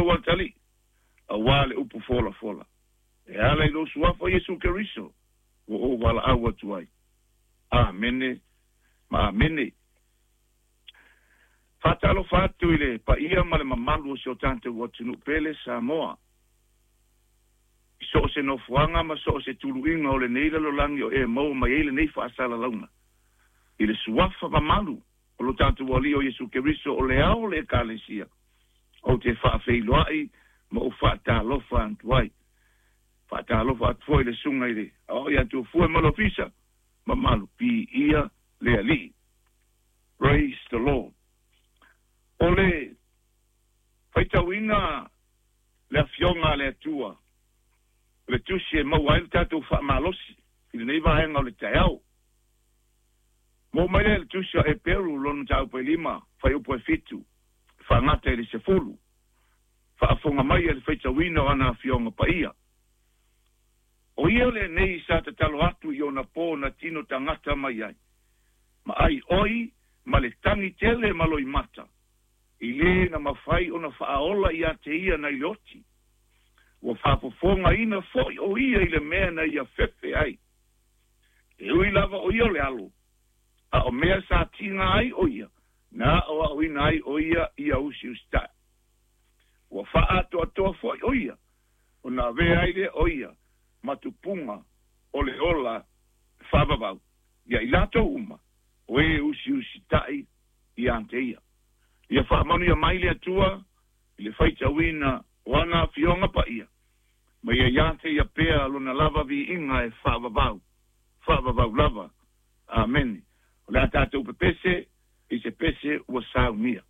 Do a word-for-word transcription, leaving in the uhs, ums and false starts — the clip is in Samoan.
lou atalii auā le upu folafola e ala i lou suafa Iesu Keriso ua ou valaau atu ai. Amene ma amene. Faatalofa atu i le paia ma le mamalu o si o tatou atunuu pele Samoa i so o se nofoaga ma so o se tuluiga o lenei lalolagi o e maua mai ai lenei faasalalauga i le suafa mamalu o lo tatou Alii o Iesu Keriso o le ao o le Ekalesia. Ou te faafeiloai ma ou faatalofa atu ai. Faatalofa atu foi i le susuga i le aoao ia Tufue ma le ofisa mamalu, piia le Alii. Praise the Lord. O le faitauina le afioga a le Atua, o le tusi e maua ai le tatou faamalosi i lenei vaega o le taeao. Mo mai lea le tusi a Eperu lona mataupu e lima, fuaiupu e fitu, faagata i le sefulu, faafofoga mai a le faitauina o ana afioga paia. O ia lenei sa tatalo atu i ona po na tino tagata mai ai, ma ai oi ma le tagi tele ma loimata, i le na mafai ona faaola ia te ia nai le oti. Ua faafofogaina foi o ia i le mea na ia fefe ai. E ui lava o ia o le alo, a o mea sa tiga ai o ia, na aoaoina ai o ia ia usiusitai. Ua faaatoatoa foi o ia, ona avea ai lea o ia ma tupuga o le ola faavavau ia i latou uma o e usiusitai ia te ia. Ia faamanuia mai le Atua i le faitauina o ana afioga paia, ma ia ia te ia pea lona lava viiga e faavavau, faavavau lava. Amene. O le a tatou pepese i se pese ua saunia.